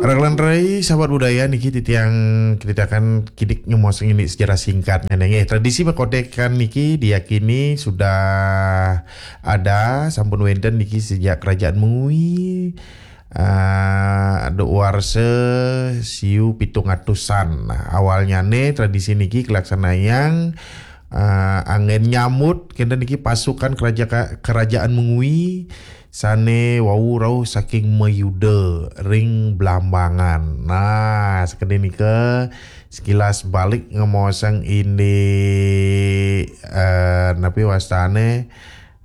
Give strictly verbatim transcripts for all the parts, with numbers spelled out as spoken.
Rakan rai, sahabat budaya, niki titiang ceritakan kidik ngemuasang ini sejarah singkatnya neh. Tradisi makotekan niki diyakini sudah ada, sampun wenten niki sejak kerajaan Mengwi, eh, ada warsa siu pitung atusan. Nah, awalnya neh tradisi niki kelaksanayang, eh, anggen nyambut kenten niki pasukan keraja-, kerajaan Mengwi sane wau rauh saking Mayuda ring Blambangan. Nah, sakadi nika sekilas balik ngemuasang ini, eh, napi wastane,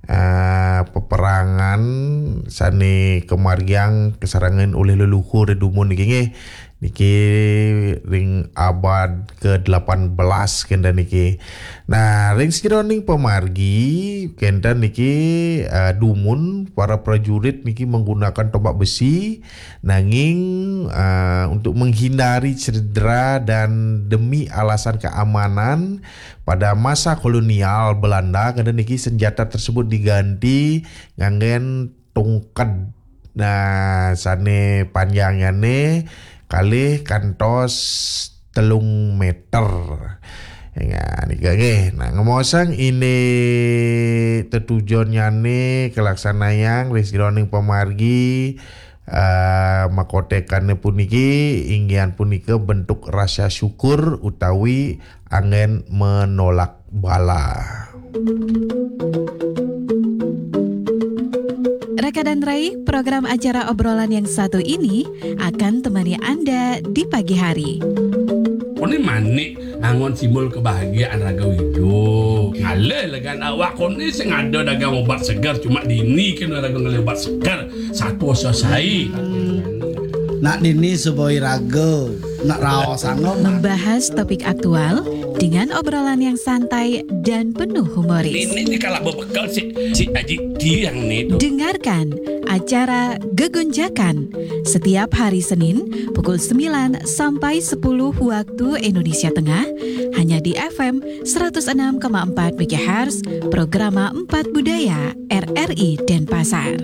eh, peperangan sane kamargiang kasarengan olih leluhur dumun niki nggih. Niki ring abad ke delapan belas kenten niki. Nah, ring sajeroning pamargi kenten niki, eh, dumun para prajurit niki menggunakan tombak besi, nanging, eh, untuk menghindari cedera dan demi alasan keamanan, pada masa kolonial Belanda kenten niki senjata tersebut diganti nganggen tungked. Nah, sane panjangnyane kalih kantos telung meter. Ya, nika nggih. Nah, ngemuasang ini tetujonnyane kalaksanayang ring sajeroning pamargi, eh, makotekane puniki, inggihan punika bentuk rasa syukur utawi anggen menolak bala. Rekan dan Rai, program acara obrolan yang satu ini akan temani Anda di pagi hari. Kone manik angon simbol kebahagiaan raga wijo. Ngalih legan awak kone sing ada dagang obat segar, cuma dini kena raga ngalih obat segar. Satu selesai. Nak dini suboi raga, nak raos angom. Membahas topik aktual dengan obrolan yang santai dan penuh humoris. Ini nih kalau bebekel si, si Aji Tiang nih tuh. Dengarkan acara Gegonjakan setiap hari Senin pukul sembilan sampai sepuluh waktu Indonesia Tengah, hanya di F M seratus enam koma empat megahertz, Programa Empat Budaya, R R I Denpasar.